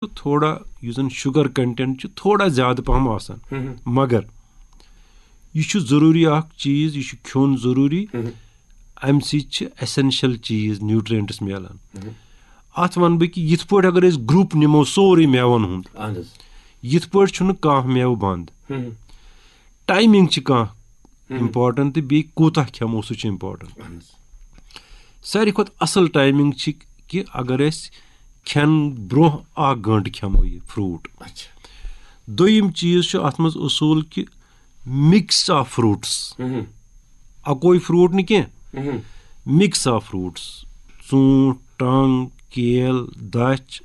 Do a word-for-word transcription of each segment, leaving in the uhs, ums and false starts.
تہٕ تھوڑا یُس زَن شُگر کَنٹینٹ چھُ تھوڑا زیادٕ پَہَم آسان۔ مگر یہِ چھُ ضروٗری اَکھ چیٖز، یہِ چھُ کھیوٚن ضروٗری۔ اَمہِ سۭتۍ چھِ ایسینشل چیٖز، نیوٗٹرینٹس میلان۔ اَتھ وَنہٕ بہٕ کہِ یِتھ پٲٹھۍ اگر أسۍ گروپ نِمو سورُے مٮ۪وَن ہُنٛد، اہن حظ۔ یِتھ پٲٹھۍ چھُنہٕ کانٛہہ مٮ۪وٕ بنٛد۔ ٹایمنگ چھِ کانٛہہ امپورٹنٹ تہٕ بیٚیہِ کوٗتاہ کھٮ۪مو، سُہ چھُ امپورٹنٹ۔ اہن حظ۔ ساروی کھۄتہٕ اَصٕل ٹایمنگ چھِ کہِ اگر أسۍ کھٮ۪ن برونٛہہ اکھ گٲنٛٹہٕ کھٮ۪مو یہِ فروٗٹ۔ اچھا۔ دوٚیِم چیٖز چھُ اَتھ منٛز اصوٗل کہِ مِکس آف فروٗٹس۔ اَکوے فروٗٹ نہٕ کینٛہہ، مِکس آف فروٗٹس۔ ژوٗنٛٹھ، ٹنٛگ، کیل، دَچھ،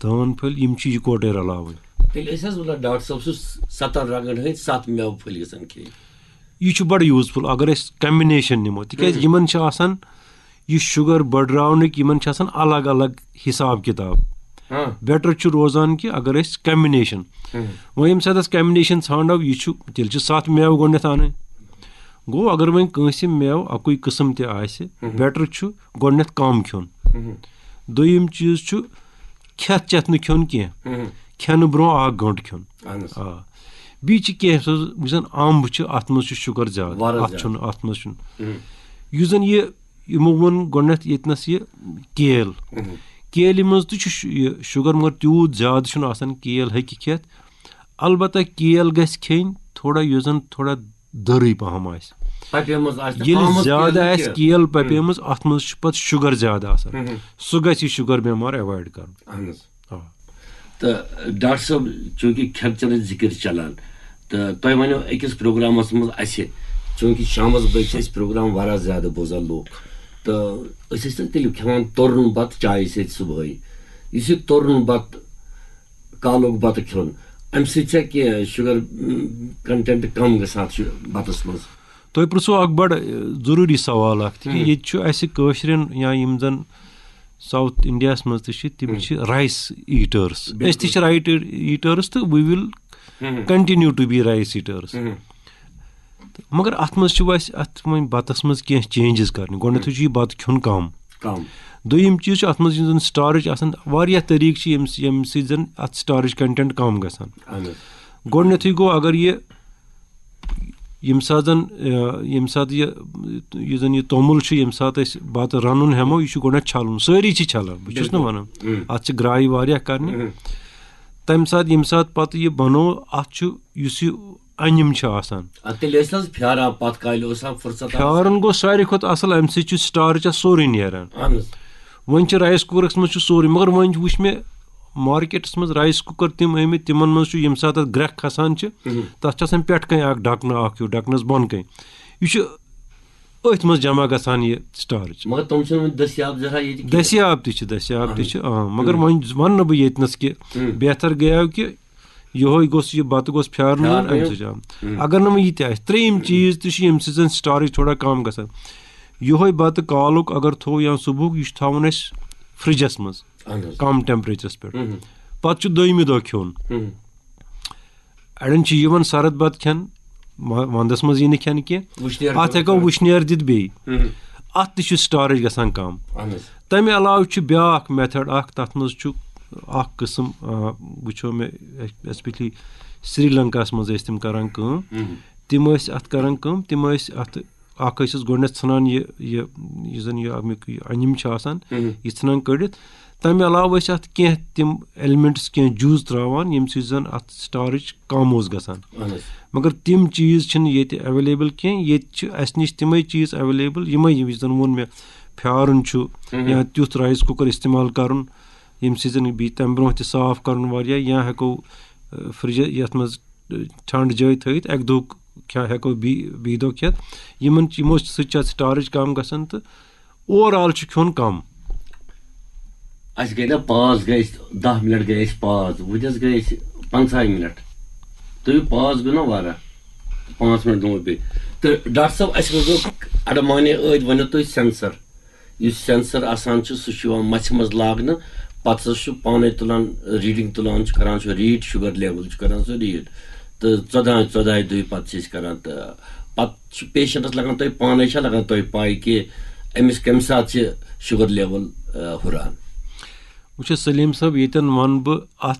دٲن پھٔلۍ، یِم چھِ یِکوَٹَے رَلاوٕنۍ۔ تیٚلہِ ٲسۍ حظ وَنان ڈاکٹر صٲب، سُہ ستن رنٛگن ہٕنٛدۍ ستھ مٮ۪وٕ پھٔلۍ گژھن کھیٚنۍ۔ یہِ چھُ بڑٕ یوٗزفُل اگر أسۍ کمبِنیشن نِمو، تِکیازِ یِمن چھِ آسان یہِ شُگر بڑراونٕکۍ، یِمن چھِ آسان الگ الگ حساب کِتاب۔ ہاں۔ بیٹر چھُ روزان کہِ اگر أسۍ کمبِنیشن، وۄنۍ ییٚمہِ ساتہٕ أسۍ کمبِنیشن ژھانڈو، یہِ چھُ، تیٚلہِ چھِ ستھ مٮ۪وٕ گۄڈٕنٮ۪تھ اَنٕنۍ۔ گوٚو اگر وۄنۍ کٲنٛسہِ مٮ۪وٕ اَکُے قٕسم تہِ آسہِ، بیٹر چھُ گۄڈٕنٮ۪تھ کم کھیوٚن۔ دوٚیِم چیٖز چھُ کھٮ۪تھ چٮ۪تھ نہٕ کھیوٚن کینٛہہ، کھٮ۪نہٕ برونٛہہ اکھ گٲنٛٹہٕ کھیوٚن۔ اہن حظ۔ آ۔ بیٚیہِ چھِ کینٛہہ سُہ، یُس زَن اَمب چھُ، اَتھ منٛز چھُ شُگر زیادٕ، واریاہ اَتھ زیادٕ۔ چھُنہٕ، اَتھ منٛز چھُنہٕ۔ یُس زَن یہِ، یِمو ووٚن گۄڈٕنٮ۪تھ ییٚتنَس یہِ کیل، کیلہِ منٛز تہِ چھُ شُ-، یہِ شُگر مگر تیوٗت زیادٕ چھُنہٕ آسان، کیل ہیٚکہِ کھٮ۪تھ۔ البتہ کیل گژھِ کھیٚنۍ تھوڑا، یُس زَن تھوڑا دٔرٕے پَہَم آسہِ۔ پَپیمٕژ آسہِ تہٕ ییٚلہِ آمُت زیادٕ کیل آسہِ کینٛہہ۔ کیل پَپیمٕژ، اَتھ منٛز چھُ پَتہٕ شُگر زیادٕ آسان۔ سُہ گژھِ یہِ شُگر بٮ۪مار ایوایڈ کَرُن۔ اہن حظ۔ آ۔ تہٕ ڈاکٹر صٲب، چوٗنٛکہِ کھٮ۪ن چٮ۪نٕچ ذِکِر چھِ چَلان، تہٕ تۄہہِ وَنیو أکِس پروگرامَس منٛز اَسہِ، چوٗنٛکہِ شامَس بٲگۍ چھِ أسۍ پروگرام واریاہ زیادٕ بوزان لوٗکھ، تہٕ أسۍ ٲسۍ نہٕ تیٚلہِ کھٮ۪وان توٚرُن بَتہٕ چایہِ سۭتۍ صُبحٲے۔ یُس یہِ توٚرُن بَتہٕ، کالُک بَتہٕ کھیوٚن، اَمہِ سۭتۍ چھا کینٛہہ شُگر، م، کنٹینٹ کم گژھان اَتھ شُ-، بَتَس منٛز؟ تۄہہِ پرٛژھوُ اکھ بڑٕ، اے، ضروٗری سوال اکھ، تِکیازِ ییٚتہِ چھُ اَسہِ کٲشرٮ۪ن یا یِم زَن ساوُتھ اِنڈیاہَس منٛز تہِ چھِ، تِم چھِ رایس ایٖٹٲرٕس۔ أسۍ تہِ چھِ رایس ایٖٹٲرٕس تہٕ we will continue to be rice eaters۔ تہٕ مگر اَتھ منٛز چھِ اَسہِ اَتھ وۄنۍ بَتَس منٛز کینٛہہ چینجز کَرنہِ۔ گۄڈٕنٮ۪تھٕے چھُ یہِ بَتہٕ کھیوٚن کَم۔ کم۔ دوٚیِم چیٖز چھُ اَتھ منٛز یُس زَن سٹارٕچ آسان، واریاہ طریٖقہٕ چھِ ییٚمہِ، ییٚمہِ سۭتۍ زَن اَتھ سٹارٕچ کنٹینٹ کم گژھان۔ اہن حظ۔ گۄڈٕنٮ۪تھٕے گوٚو، اگر یہِ ییٚمہِ ساتہٕ زَن، آ، ییٚمہِ ساتہٕ یہِ، یُس زَن یہِ توٚمُل چھُ، ییٚمہِ ساتہٕ أسۍ بَتہٕ رَنُن ہٮ۪مو، یہِ چھُ گۄڈٕنٮ۪تھ چھَلُن۔ سٲری چھِ چھَلان، بہٕ چھُس نہٕ وَنان۔ اَتھ چھِ گرٛایہِ واریاہ کَرنہِ۔ تَمہِ ساتہٕ، ییٚمہِ ساتہٕ پَتہٕ یہِ بَنوو، اَتھ چھُ، یُس یہِ اَنِم چھُ آسان۔ اَدٕ تیٚلہِ ٲسۍ نہٕ حظ پھیٛاران پَتہٕ کالہِ، اوس آسان فُرصت آسان۔ پھیٛارُن گوٚو ساروی کھۄتہٕ اَصٕل، اَمہِ سۭتۍ چھُ سٹارٕچ اَتھ سورُے نیران۔ اہن حظ۔ وۄنۍ چھِ رایس کُکرَس منٛز چھُ سورُے، مگر وۄنۍ وٕچھ مےٚ مارکیٹَس منٛز رایس کُکر تِم آمٕتۍ، تِمَن منٛز چھُ ییٚمہِ ساتہٕ اَتھ گرٛٮ۪کھ کھَسان چھِ، تَتھ چھُ آسان پٮ۪ٹھٕ کَنۍ اَکھ ڈَکنہٕ اَکھ ہیوٗ، ڈَکنَس بۄن کَنۍ۔ یہِ چھُ أتھۍ منٛز جمع گژھان یہِ سٹارٕچ۔ مگر تِم چھِنہٕ وۄنۍ دٔستیاب زیادٕ ییٚتہِ کینٛہہ۔ دٔستیاب تہِ چھِ، دٔستیاب تہِ چھِ، آ، مگر وۄنۍ وَنہٕ نہٕ بہٕ ییٚتنَس کہِ بہتر گٔیو کہِ یِہوٚے گوٚژھ، یہِ بَتہٕ گوٚژھ پھیٛارنہٕ یُن، پھیٛارنہٕ اَمہِ یُن۔ سۭتۍ چھُ، آ۔ اگر نہٕ وۄنۍ یہِ تہِ آسہِ، ترٛیٚیِم چیٖز تہِ چھُ، ییٚمہِ سۭتۍ زَن سٹارٕچ تھوڑا کَم گژھان۔ یِہوٚے بَتہٕ کالُک اگر تھوٚو یا صُبحُک، یہِ چھُ تھاوُن اَسہِ فرٛجَس منٛز، اہن حظ۔ کَم ٹیمپریچرَس پٮ۪ٹھ۔ پَتہٕ چھُ دوٚیمہِ دۄہ کھیوٚن۔ اَڑٮ۪ن چھُ یِوان سرد بَتہٕ کھٮ۪ن، وَ-، وَندَس منٛز یی نہٕ کھٮ۪نہٕ کینٛہہ۔ وٕشنیر اَتھ ہٮ۪کو وٕشنیر دِتھ بیٚیہِ۔ اَتھ تہِ چھُ سٹارٕچ گژھان کَم۔ اہن حظ۔ تَمہِ علاوٕ چھُ بیٛاکھ میتھڈ اَکھ، تَتھ منٛز چھُ اَکھ قٕسٕم، آ، وٕچھو مےٚ، ایسپیشلی سری لنکاہَس منٛز ٲسۍ تِم کَران کٲم۔ تِم ٲسۍ اَتھ کَران کٲم، تِم ٲسۍ اَتھ، اَکھ ٲسۍ أسۍ گۄڈٕنٮ۪تھ ژھٕنان یہِ، یہِ، یُس زَن یہِ اَمیُک یہِ اَنِم چھُ آسان، یہِ ژھٕنان کٔڑِتھ۔ تَمہِ علاوٕ ٲسۍ اَتھ کینٛہہ تِم ایلیمنٹس، کینٛہہ جوٗس ترٛاوان، ییٚمہِ سۭتۍ زَن اَتھ سٹارٕچ کَم اوس گژھان۔ اہن حظ۔ مگر تِم چیٖز چھِنہٕ ییٚتہِ ایویلیبل کینٛہہ۔ ییٚتہِ چھِ اَسہِ نِش تِمَے چیٖز ایویلیبل، یِمَے، یِم زَن ووٚن مےٚ، پھیٛارُن چھُ یا تیُتھ رایس کُکر استعمال کَرُن، ییٚمہِ سۭتۍ زَن بیٚیہِ تَمہِ برونٛہہ تہِ صاف کَرُن واریاہ، یا ہٮ۪کو، اَ، فرٛجہِ یَتھ منٛز، اَ، ٹھنٛڈ جٲے تھٲوِتھ، اَکہِ دۄہُک کھٮ۪-، ہٮ۪کو بیٚیہِ، بیٚیہِ دۄہ کھٮ۪تھ۔ یِمَن، یِمو سۭتۍ چھِ اَتھ سٹارٕچ کَم گژھان تہٕ اوور آل چھُ کھیوٚن کَم۔ اَسہِ گٔے نا پاس، گٔے أسۍ دَہ منٹ گٔے أسۍ پاس، وٕنکٮ۪س گٔے أسۍ پنٛژاہ منٹ۔ تُہۍ پاس گوٚو نا واریاہ، پانٛژھ منٹ گوٚو بیٚیہِ۔ تہٕ ڈاکٹر صٲب، اَسہِ منٛز گوٚو اَڑٕ مانے ٲدۍ ؤنِو تُہۍ سینسر۔ یُس سینسر آسان چھُ، سُہ چھُ یِوان مَژھِ منٛز لاگنہٕ، پَتہٕ ہسا چھُ پانَے تُلان، ریٖڈِنٛگ تُلان چھُ، کران چھُ ریٖڈ، شُگر لیول چھُ کران سُہ ریٖڈ۔ تہٕ ژۄداہ، ژۄداہہِ دۄہہِ پَتہٕ چھِ أسۍ کران۔ تہٕ پَتہٕ چھُ پیشنٹَس لگان تۄہہِ پانَے، چھا لگان تۄہہِ پَے کہِ أمِس کَمہِ ساتہٕ چھِ شُگر لیول، آ، ہُران؟ وٕچھو سلیٖم صٲب، ییٚتٮ۪ن وَنہٕ بہٕ اَتھ